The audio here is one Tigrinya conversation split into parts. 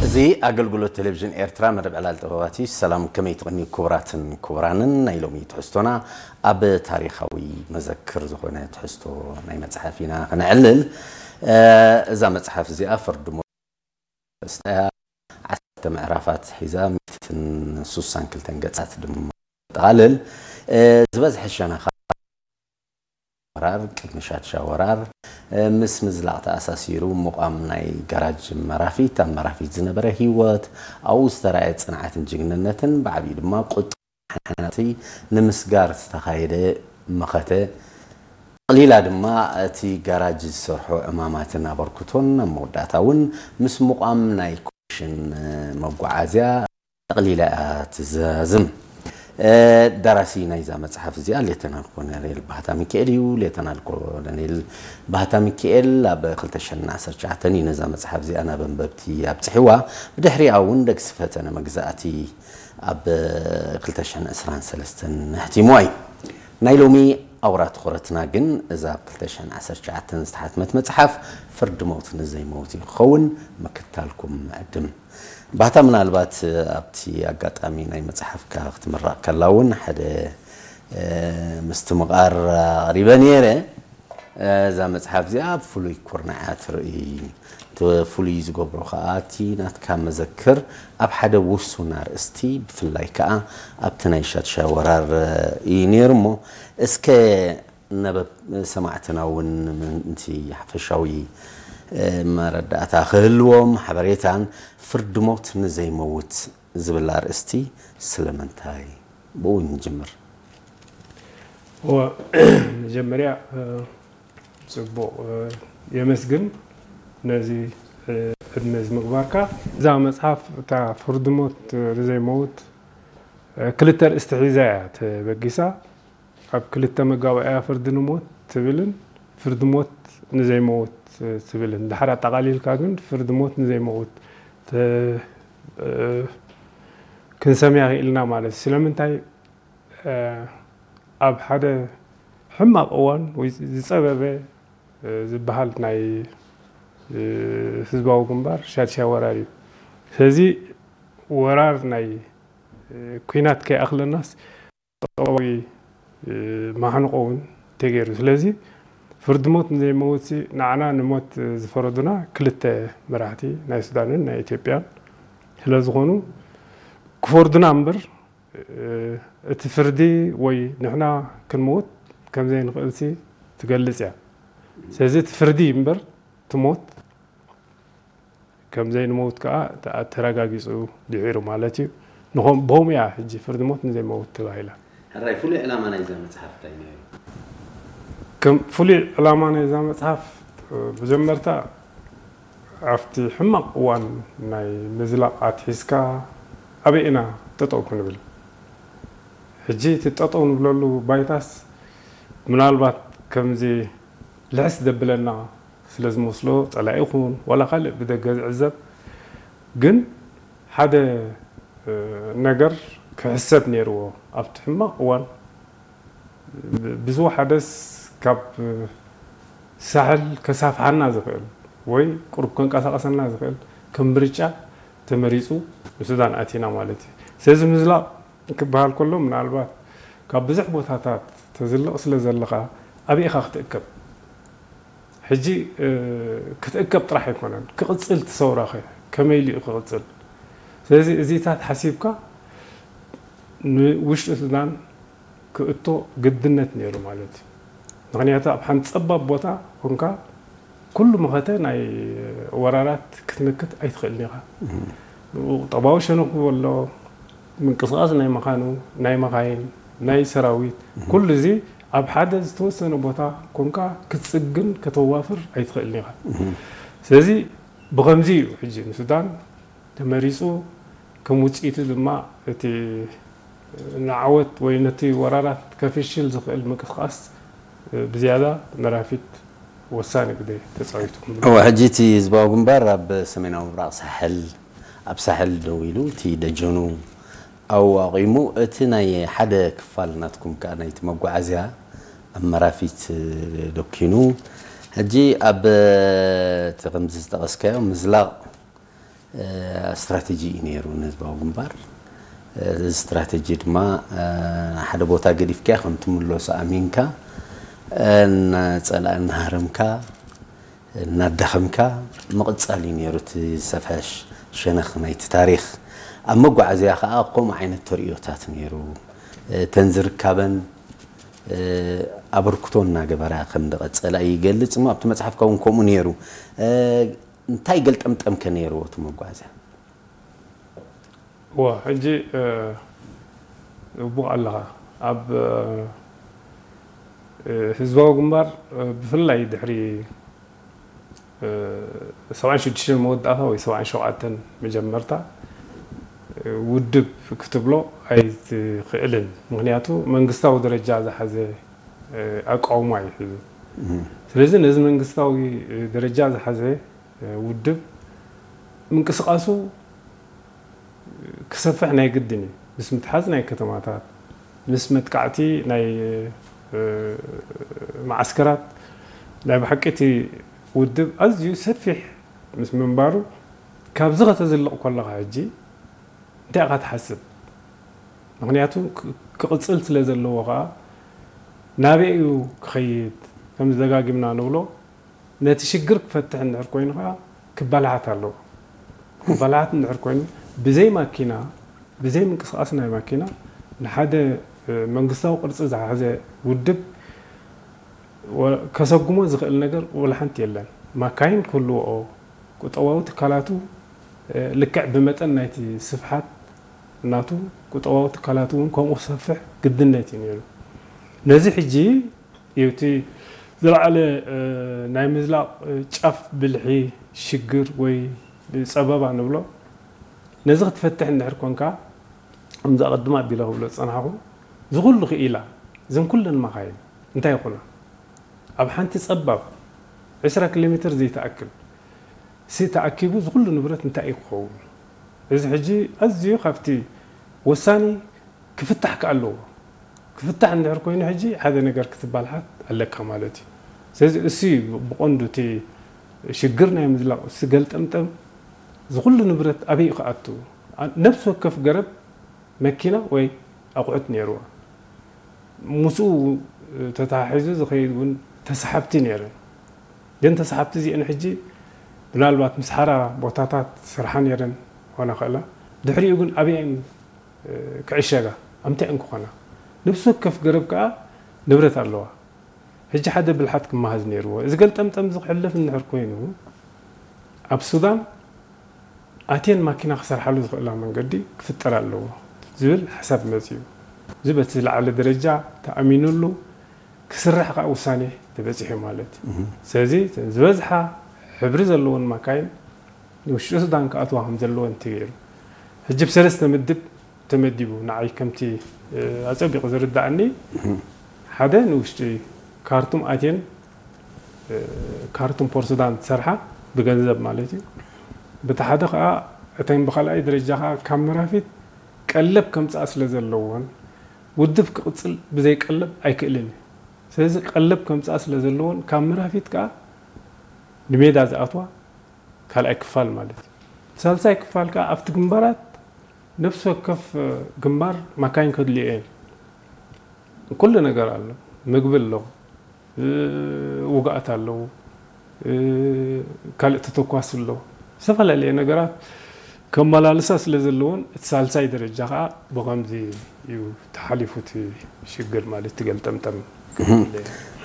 እዚ ኣገልግሎት ቴሌቪዥን ኤርትራ መደብ ዕላል ጥበባት እዩ። ሰላም፣ ከመይ ትቕንዩ ክቡራትን ክቡራንን? ናይ ሎሚ ትሕዝቶና ኣብ ታሪኻዊ መዘክር ዝኾነ ትሕዝቶ ናይ መጽሓፍ ኢና ክነዕልል። እ፣ እዛ መጽሓፍ እዚኣ ፍርዲ ሞት ኣርእስታ እያ። ዓሰርተ ምዕራፋት ሒዛ፣ ሚእትን ስሳን ክልተን ገጻት ድማ ጠቓልል። እ፣ ዝበዝሐ ሸነኻ ወራር፣ ቅድሚ ሻድሻ ወራር፣ እ፣ ምስ ምዝላቕ ተኣሳሲሩ ምቋም ናይ ጋራጅ መራፊት፣ ኣብ መራፊት ዝነበረ ህይወት፣ ኣብኡ ዝተራእየ ጽንዓትን ጅግንነትን፣ ብዓቢኡ ድማ ቁጥዓ ሓናቲ ንምስጋር ዝተኻየደ መኸተ፣ ጠቕሊላ ድማ እቲ ጋራጅ ዝሰርሖ ዕማማትን ኣበርክቶን፣ ኣብ መወዳእታ እውን ምስ ምቋም ናይ ኮሚሽን መጓዓዝያ ጠቕሊላ እያ ትዛዝም። እ፣ ደራሲ ናይዛ መጽሓፍ እዚኣ ሌተናል ኮሎኔል ባህታ ሚካኤል እዩ። ሌተናል ኮሎኔል ባህታ ሚካኤል ኣብ ክልተ ሽሕን ዓሰርተ ትሽዓተን እዩ ነዛ መጽሓፍ እዚኣ ናብ ኣንበብቲ ኣብጽሕዋ። ብድሕሪኣ እውን ደግሲ ፈተነ መግዛእቲ ኣብ ክልተ ሽሕን ዕስራን ሰለስተን ኣሕቲምዋ እዩ። ናይ ሎሚ ኣውራ ትኹረትና ግን እዛ ኣብ ክልተ ሽሕን ዓሰርተ ትሽዓተን ዝተሓትመት መጽሓፍ ፍርዲ ሞት ንዘይመውት እዩ ክኸውን። ምክትታልኩም ምዕድም። ባህታ፣ ምናልባት ኣብቲ ኣጋጣሚ ናይ መጽሓፍካ ክትምረቕ ከላ እውን ሓደ፣ እ፣ ምስትምቓር ኣቕሪበ ነይረ። እዛ መጽሓፍ እዚኣ ኣብ ፍሉይ ኩርናዕ እያ ትርኢ። እቲ ፍሉይ ዝገብሮ ከኣ እቲ ናትካ መዘክር ኣብ ሓደ ውሱን ኣርእስቲ፣ ብፍላይ ከኣ ኣብቲ ናይ ሻድሻይ ወራር እዩ ነይሩ እሞ፣ እስከ ነበብ ሰማዕትና እውን ምእንቲ ሓፈሻዊ፣ እ፣ መረዳእታ ክህልዎም ሓበሬታን፣ ፍርዲ ሞት ንዘይመውት ዝብል ኣርእስቲ ስለምንታይ? ብኡ ንጅምር። እወ፣ መጀመርያ፣ እ፣ ጽቡቕ፣ እ፣ የመስግን ነዚ፣ እ፣ ዕድመ እዚ ምግባርካ። እዛ መጽሓፍ እታ ፍርዲ ሞት ንዘይመውት፣ እ፣ ክልተ ኣርእስቲ ሒዛ እያ ተበጊሳ። ኣብ ክልተ መጋባእያ ፍርዲ ንሞት ትብልን ፍርዲ ሞት ንዘይመውት ትብልን። ድሓር ኣጠቓሊልካ ግን ፍርዲ ሞት ንዘይመውት ተ-፣ እ፣ ክንሰምያ ክኢልና ማለት እዩ። ስለምንታይ፣ እ፣ ኣብ ሓደ ሕማቕ እዋን ወይ ዝጸበበ፣ እ፣ ዝበሃል ናይ፣ እ፣ ህዝባዊ ግንባር ሻድሻይ ወራር እዩ። ስለዚ ወራር ናይ፣ እ፣ ኲናት ከይኣኽለናስ ቁጠባዊ፣ እ፣ ማሕንቆ እውን ተገይሩ። ስለዚ ፍርዲ ሞት ንዘይመውትሲ ንዓና ንሞት ዝፈረዱና ክልተ መራሕቲ ናይ ሱዳንን ናይ ኢትዮጵያን ስለ ዝኾኑ ክፈርዱና እምበር፣ እ፣ እቲ ፍርዲ ወይ ንሕና ክንመውት ከም ዘይንኽእልሲ ትገልጽ እያ። ስለዚ እቲ ፍርዲ እምበር እቲ ሞት ከም ዘይንመውት ከኣ ተ-፣ ተረጋጊጹ ድሒሩ ማለት እዩ። ንኸም-፣ ብኸምኡ እያ ሕጂ ፍርዲ ሞት ንዘይመውት ተባሂላ። ሕራይ፣ ፍሉይ ዕላማ ናይዛ መጽሓፍ እንታይ ነይሩ? ከም ፍሉይ ዕላማ ናይዛ መጽሓፍ፣ እ፣ መጀመርታ ኣብቲ ሕማቕ እዋን ናይ ምዝላቕ ኣትሒዝካ ኣበይ ኢና ጠጠው ክንብል? ሕጂ እቲ ጠጠው ንብለሉ ባይታስ ምናልባት ከምዚ ልሕስ ዘብለና ስለ ዝመስሎ፣ ጸላኢ ይኹን ዋላ ካልእ ብደገ ዝዕዘብ፣ ግን ሓደ፣ እ፣ ነገር ክሕሰብ ነይርዎ። ኣብቲ ሕማቕ እዋን ብ-፣ ብዝወሓደስ ካብ ሳሕል ከሳፍሓና ዝኽእል ወይ ቁሩብ ከንቀሳቐሰና ዝኽእል ከም ምርጫ ተመሪጹ ንሱዳን ኣቲና ማለት እዩ። ስለዚ ምዝላቕ ክበሃል ከሎ ምናልባት ካብ ብዙሕ ቦታታት ተዝልቕ ስለ ዘለኻ ኣበይ ኢኻ ክትእከብ? ሕጂ፣ እ፣ ክትእከብ ጥራሕ ኣይኮነን፣ ክቕጽል እቲ ሰውራኸ ከመይ ኢሉ እዩ ክቕጽል? ስለዚ እዚታት ሓሲብካ ንውሽጢ ሱዳን ክእቶ ግድነት ነይሩ ማለት እዩ። ምኽንያቱ ኣብ ሓንቲ ጸባብ ቦታ ኮንካ ኩሉ መኸተ ናይ ወራራት ክትምክት ኣይትኽእልን ኢኻ። ቁጠባዊ ሸነኹ ኣሎ፣ ምንቅስቓስ ናይ መኻኑ፣ ናይ መኻይን፣ ናይ ሰራዊት፣ ኩሉ እዚ ኣብ ሓደ ዝተወሰነ ቦታ ኮንካ ክትጽግን ከተዋፍር ኣይትኽእልን ኢኻ። ስለዚ ብኸምዚ እዩ ሕጂ ንሱዳን ተመሪጹ፣ ከም ውጽኢቱ ድማ እቲ ንዓወት ወይ ነቲ ወራራት ከፍሽል ዝኽእል ምንቅስቓስ ብዝያዳ መራፊት ወሳኒ ግደ ተጻዊቱ። እወ፣ ሕጂ እቲ ህዝባዊ ግንባር ኣብ ሰሜናዊ ምብራቕ ሳሕል፣ ኣብ ሳሕል ደው ኢሉ፣ እቲ ደጀኑ ኣብኡ ኣቑሙ፣ እቲ ናይ ሓደ ክፋል ናትኩም ከኣ ናይቲ መጓዓዝያ ኣብ መራፊት ደኪኑ። ሕጂ ኣብ እቲ ከምዚ ዝጠቐስካዮ ምዝላቕ ስትራተጂ እዩ ነይሩ ንህዝባዊ ግንባር። እዚ ስትራተጂ ድማ ሓደ ቦታ ገዲፍካ ከም ትምለሶ ኣሚንካ፣ እናፀላእ እናሃረምካ እናዳኸምካ ምቕፃል እዩ ነይሩ። እቲ ዝሰፍሐ ሸነኽ ናይቲ ታሪኽ። ኣብ መጓዓዝያ ከዓ ከምኡ ዓይነት ተርእዮታት ነይሩ። እተን ዝርካበን ኣበርክቶ እናገበራ ከም ዝቐፀላ ይገልፅ እሞ ኣብቲ መፅሓፍካ እውን ከምኡ ነይሩ። እንታይ ገልጠምጠምከ ነይርዎ እቲ መጓዓዝያ? ዋ ሕጂ ውቡቕ ኣለኻ። ኣብ ህዝባዊ ግንባር ብፍላይ ድሕሪ ሰብዓን ሽዱሽተን መወዳእታ ወይ ሰብዓን ሸውዓተን መጀመርታ ውድብ ክትብሎ ኣይትኽእልን። ምክንያቱ መንግስታዊ ደረጃ ዝሓዘ ኣቃውማ እዩ ሒዙ። ስለዚ ነዚ መንግስታዊ ደረጃ ዝሓዘ ውድብ ምንቅስቃሱ ክሰፍሕ ናይ ግድን እዩ። ምስ ምትሓዝ ናይ ከተማታት፣ ምስ መጥቃዕቲ ናይ መዓስከራት ናይ ብሓቂ እቲ ውድብ ኣዝዩ ሰፊሕ ምስ ምንባሩ ካብዚ ከተዝልቕ ከለኻ ሕጂ እንታይ ኢኻ ትሓስብ? ምክንያቱ ክቕፅል ስለ ዘለዎ ከዓ ናበይ እዩ ክኸይድ? ከም ዝደጋጊምና ንብሎ ነቲ ሽግር ክፈትሕ እንድሕር ኮይኑ ከዓ ክበላሓት ኣለዎ። ክበላሓት እንድሕር ኮይኑ ብዘይ ማኪና ብዘይ ምንቅስቃስ ናይ ማኪና ንሓደ መንግስታዊ ቅርፂ ዝሓዘ ውድብ ከሰጉሞ ዝኽእል ነገር ወላ ሓንቲ የለን። ማካይን ክህልውኦ፣ ቁጠባዊ ትካላቱ ልክዕ ብመጠን ናይቲ ስፍሓት ናቱ ቁጠባዊ ትካላቱ እውን ከምኡ ክሰፍሕ ግድነት እዩ ነይሩ። ነዚ ሕጂ እዩ እቲ ዝለዓለ ናይ ምዝላቕ ጫፍ ብልሒ ሽግር ወይ ፀበባ ንብሎ። ነዚ ክትፈትሕ እንድሕር ኮንካ ከምዚ ኣቐድም ኣቢለ ክብሎ ዝፀናሕኹ እዚ ኩሉ ክኢላ እዘን ኩለን ማኻይን እንታይ ይኹና ኣብ ሓንቲ ፀባብ ዕስራ ኪሎ ሜትር ዘይትኣክል ሲ ተኣኪቡ እዚ ኩሉ ንብረት እንታይ እዩ ክኸውን? እዚ ሕጂ ኣዝዩ ካብቲ ወሳኒ ክፍታሕ ከ ኣለዎ። ክፍታሕ እንድሕር ኮይኑ ሕጂ ሓደ ነገር ክትባልሓት ኣለካ ማለት እዩ። ስለዚ እሱ እዩ ብቐንዱ እቲ ሽግር ናይ ምዝላቕ እሱ ገልጠምጠም እዚ ኩሉ ንብረት ኣበይ እዩ ክኣቱ? ነብሲ ወከፍ ገረብ መኪና ወይ ኣቑሑት ነይርዋ። ምስኡ ተተሓሒዙ ዝኸይድ እውን ተሰሓብቲ ነይረን። ግን ተሰሓብቲ እዚአን ሕጂ ምናልባት ምስ ሓራ ቦታታት ስርሓ ነይረን ክኾና ክእላ። ድሕሪኡ ግን ኣበየን ክዕሸጋ ኣብ ምንታይ እንክኾና? ነብሲ ወከፍ ገረብ ከዓ ንብረት ኣለዋ። ሕጂ ሓደ ብልሓት ክመሃዝ ነይርዎ። እዚ ገልጠምጠም እዚ ክሕለፍ እንድሕር ኮይኑ ኣብ ሱዳን ኣትየን ማኪና ክሰርሓሉ ዝኽእላ መንገዲ ክፍጠር ኣለዎ ዝብል ሓሳብ መፅዩ። እዚ በቲ ዝለዓለ ደረጃ ተኣሚኑሉ ክስራሕ ከዓ ውሳኔ ተበፂሑ ማለት እዩ። ስለዚ ዝበዝሓ ሕብሪ ዘለዎን ማካይን ንውሽጢ ሱዳን ክኣትዋ ከም ዘለወን ተገይሩ። ሕጂ ብሰለስተ ምድብ ተመዲቡ ንዓይ ከምቲ ኣፀቢቑ ዝርዳእኒ ሓደ ንውሽጢ ካርቱም ኣትየን ካርቱም ፖርት ሱዳን ዝሰርሓ ብገንዘብ ማለት እዩ። በቲ ሓደ ከዓ እተን ብካልኣይ ደረጃ ከዓ ካብ መራፊት ቀለብ ከምፅኣ ስለ ዘለዎን ውድብ ክቕፅል ብዘይ ቀለብ ኣይክእልን እዩ። ስለዚ ቀለብ ከምፅኣ ስለ ዘለዎን ካብ መራፊት ከዓ ንሜዳ ዝኣትዋ ካልኣይ ክፋል ማለት እዩ። ሳልሳይ ክፋል ከዓ ኣብቲ ግንባራት ነፍሲ ወከፍ ግንባር ማካይን ከድልዮ እየን። ኩሉ ነገር ኣሎ፣ ምግቢ ኣሎ፣ ውግኣት ኣለዉ፣ ካልእ ተተኳሲ ኣሎ፣ ዝተፈላለየ ነገራት ከመላልሳ ስለ ዘለዎን እቲ ሳልሳይ ደረጃ ከዓ ብኸምዚ እዩ ተሓሊፉ እቲ ሽግር ማለት ትገልጠምጠም።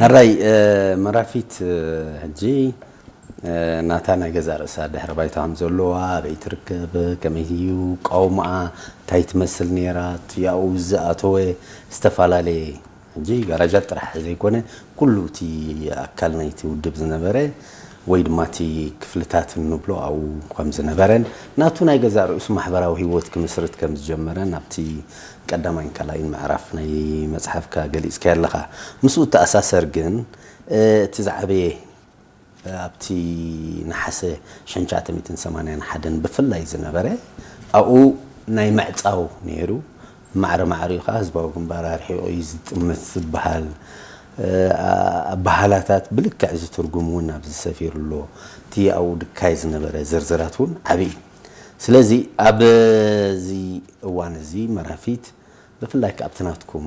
ሕራይ መራፊት ሕጂ ናታ ናይ ገዛ ርእሳ ድሕሪ ባይታ ከም ዘለዋ ኣበይ ትርከብ ከመይ እዩ ቀውምኣ እንታይ ትመስል ነይራ እቲ ኣብኡ ዝኣተወ ዝተፈላለየ ሕጂ ጋራጃት ጥራሕ ዘይኮነ ኩሉ እቲ ኣካል ናይቲ ውድብ ዝነበረ ወይ ድማ እቲ ክፍልታት እንብሎ ኣብኡ ከም ዝነበረን ናቱ ናይ ገዛ ርእሱ ማሕበራዊ ህይወት ክምስርት ከም ዝጀመረን ኣብቲ ቀዳማይን ካልኣይን ምዕራፍ ናይ መፅሓፍካ ገሊፅካዮ ኣለኻ። ምስኡ እተኣሳሰር ግን እቲ ዝዓበየ ኣብቲ ነሓሰ ሽሕን ትሽዓተ ሚእትን ሰማንያን ሓደን ብፍላይ ዝነበረ ኣብኡ ናይ ምዕፃው ነይሩ። ማዕረ ማዕሪኡ ከዓ ህዝባዊ ግንባር ኣርሒቑ እዩ ዝጥምት ዝበሃል ኣበሃህላታት ብልክዕ እዚ ትርጉም እውን ኣብዚ ሰፊሩ ኣሎ። እቲ ኣብኡ ድካይ ዝነበረ ዝርዝራት እውን ዓብዪ እዩ። ስለዚ ኣብዚ እዋን እዚ መራፊት ብፍላይ ከኣ ኣብቲ ናትኩም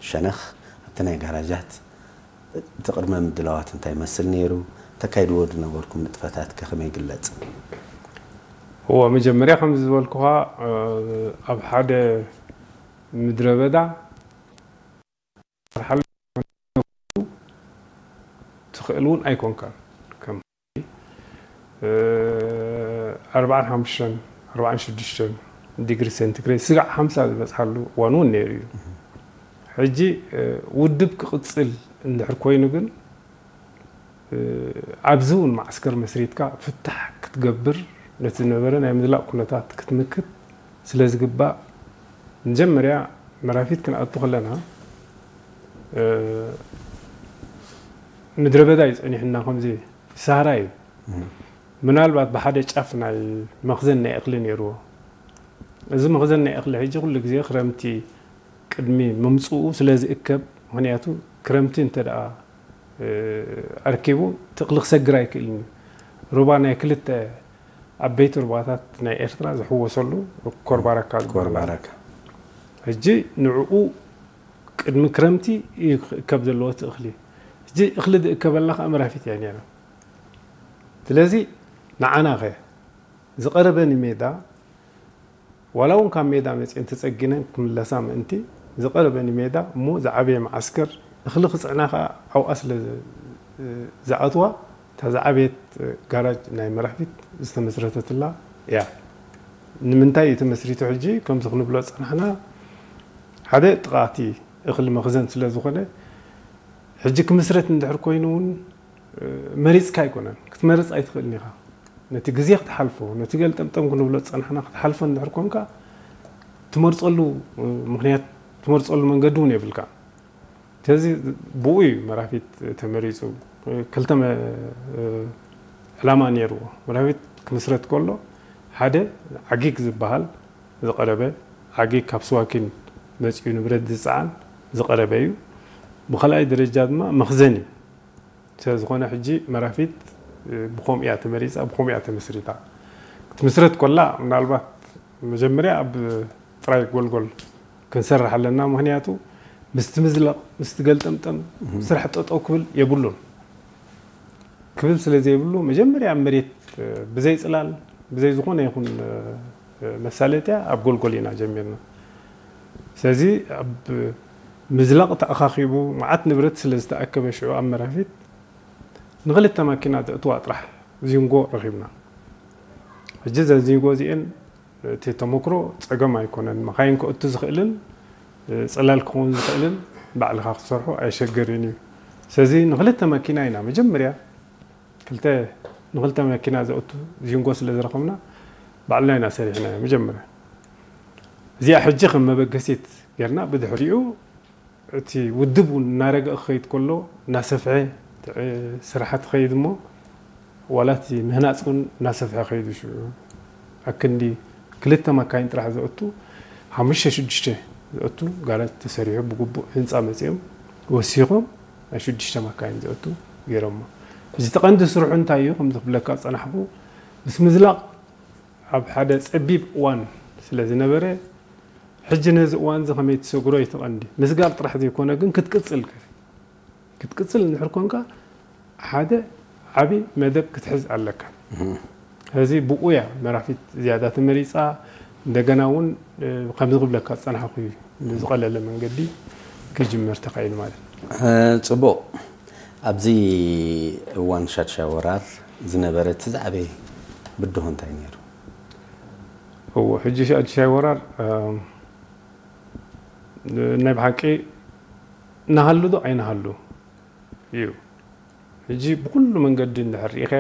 ሸነኽ ኣብቲ ናይ ጋራጃት እቲ ቅድመ ምድላዋት እንታይ ይመስል ነይሩ? ተካይድዎ ዝነበርኩም ንጥፈታት ከ ከመይ ይግለጽ? እዎ፣ መጀመርያ ከም ዝበልኩኻ ኣብ ሓደ ምድረ በዳ ትኽእል እውን ኣይኮንካን። ከም ኣርባዓን ሓሙሽተን ኣርባዓን ሽዱሽተን ዲግሪ ሴንቲግሬድ ስጋዕ ሓምሳ ዝበፅሓሉ እዋን እውን ነይሩ እዩ። ሕጂ ውድብ ክቕፅል እንድሕር ኮይኑ ግን ኣብዚ እውን ማዕስከር መስሪትካ ፍታሕ ክትገብር ነቲ ዝነበረ ናይ ምዝላቕ ኩነታት ክትምክት ስለ ዝግባእ መጀመርያ መራፊት ክንኣቱ ከለና ምድረ በዳ እዩ ጸኒሕና ከምዚ ሳራ እዩ ምናልባት ብሓደ ጫፍ ናይ መኽዘን ናይ እኽሊ ነይርዎ። እዚ መኽዘን ናይ እኽሊ ሕጂ ኩሉ ግዜ ክረምቲ ቅድሚ ምምፅኡ ስለ ዝእከብ ምክንያቱ ክረምቲ እንተ ደኣ ኣርኪቡ እቲ እኽሊ ክሰግር ኣይክእልን እዩ። ሩባ ናይ ክልተ ዓበይቲ ሩባታት ናይ ኤርትራ ዝሕወሰሉ ኮርባረካ ዝበሃል። ሕጂ ንዕኡ ቅድሚ ክረምቲ እዩ ክእከብ ዘለዎ እቲ እኽሊ። ሕጂ እኽሊ ዝእከበላ ከዓ መራፊት እያ ነይራ። ስለዚ ንዓና ኸ ዝቐረበ ንሜዳ ዋላ እውን ካብ ሜዳ መፅኤን ተፀጊነን ክምለሳ ምእንቲ ዝቐረበ ንሜዳ እሞ ዝዓበየ መዓስከር እኽሊ ክፅዕና ከዓ ኣብኣ ስለ ዝኣትዋ እታ ዝዓበየት ጋራጅ ናይ መራፊት ዝተመስረተትላ እያ። ንምንታይ እዩ ተመስሪቱ ሕጂ ከምዚ ክንብሎ ዝፀናሕና ሓደ ጥቓቲ እኽሊ መኽዘን ስለ ዝኾነ ሕጂ ክምስረት እንድሕር ኮይኑ እውን መሪፅካ ኣይኮነን ክትመርፅ ኣይትኽእልን ኢኻ ነቲ ግዜ ክትሓልፎ ነቲ ገልጠምጠም ክንብሎ ዝፀናሕና ክትሓልፎ እንድሕር ኮንካ ትመርፀሉ ምክንያት ትመርፀሉ መንገዲ እውን የብልካ ስለዚ ብኡ እዩ መራፊት ተመሪፁ ክልተ ዕላማ ነይርዎ መራፊት ክምስረት ከሎ ሓደ ዓጊግ ዝበሃል ዝቐረበ ዓጊግ ካብ ስዋኪን መፂኡ ንብረት ዝፀዓን ዝቐረበ እዩ ብካልኣይ ደረጃ ድማ መኽዘን እዩ ስለዝኾነ ሕጂ መራፊት ብኸምኡ እያ ተመሪፃ ብኸምኡ እያ ተመስሪታ ክትምስረት ኮላ ምናልባት መጀመርያ ኣብ ጥራይ ጎልጎል ክንሰርሕ ኣለና ምክንያቱ ምስቲ ምዝለቕ ምስቲ ገልጠምጠም ስራሕ ጠጠው ክብል የብሉን ክብል ስለ ዘይብሉ መጀመርያ ኣብ መሬት ብዘይ ፅላል ብዘይ ዝኾነ ይኹን መሳለጥያ ኣብ ጎልጎል ኢና ጀሚርና ስለዚ ኣብ ምዝላቕ ተኣኻኺቡ መዓት ንብረት ስለ ዝተኣከበ ሽዑ ኣብ መራፊት ንክልተ ማኪና ዘእትዋ ጥራሕ ዚንጎ ረኺብና ሕጂ ዘን ዚንጎ እዚኤን እቲ ተመክሮ ፀገም ኣይኮነን መኻይን ከእቱ ዝኽእልን ፅላል ክኸውን ዝኽእልን ባዕልኻ ክትሰርሖ ኣየሸገርን እዩ ስለዚ ንክልተ ማኪና ኢና መጀመርያ ክልተ ንክልተ መኪና ዘእቱ ዚንጎ ስለ ዝረኸብና ባዕልና ኢና ሰሪሕና መጀመርያ እዚኣ ሕጂ ከም መበገሲት ጌርና ብድሕሪኡ እቲ ውድብ እውን እናረገ ክኸይድ ከሎ እናሰፍሐ ስራሕቲ ኸይድ እሞ ዋላ እቲ ምህናፅ እውን እናሰፍሐ ኸይዱ ሽዑ ኣክንዲ ክልተ መካይን ጥራሕ ዘእቱ ሓሙሽተ ሽዱሽተ ዘእቱ ጋራጅ ተሰሪሑ ብግቡእ ህንፃ መፂኦም ወሲኾም ናይ ሽዱሽተ መካይን ዘእቱ ገይሮሞ እዚ ተቐንዲ ስርሑ እንታይ እዩ ከምዚ ክብለካ ዝፀናሕኩ ምስ ምዝላቕ ኣብ ሓደ ፀቢብ እዋን ስለ ዝነበረ ሕጂ ነዚ እዋን እዚ ከመይ ትሰግሮ እዩ ተቐንዲ ምስጋር ጥራሕ ዘይኮነ ግን ክትቅፅል ክትቅፅል እንድሕር ኮንካ ሓደ ዓብዪ መደብ ክትሕዝ ኣለካ። እዚ ብኡ እያ መራፊት ዝያዳ ተመሪፃ። እንደገና እውን ከምዚ ክብለካ ዝፀናሕኩ እዩ ብዝቐለለ መንገዲ ክጅመር ተኻኢሉ ማለት እዩ። ፅቡቕ። ኣብዚ እዋን ሻድሻይ ወራር ዝነበረ እቲ ዝዓበየ ብድሆ እንታይ ነይሩ? እዎ ሕጂ ሻድሻይ ወራር ናይ ብሓቂ ናሃሉ ዶ ኣይናሃሉ እዩ። ሕጂ ብኩሉ መንገዲ እንድሕር ርኢኸ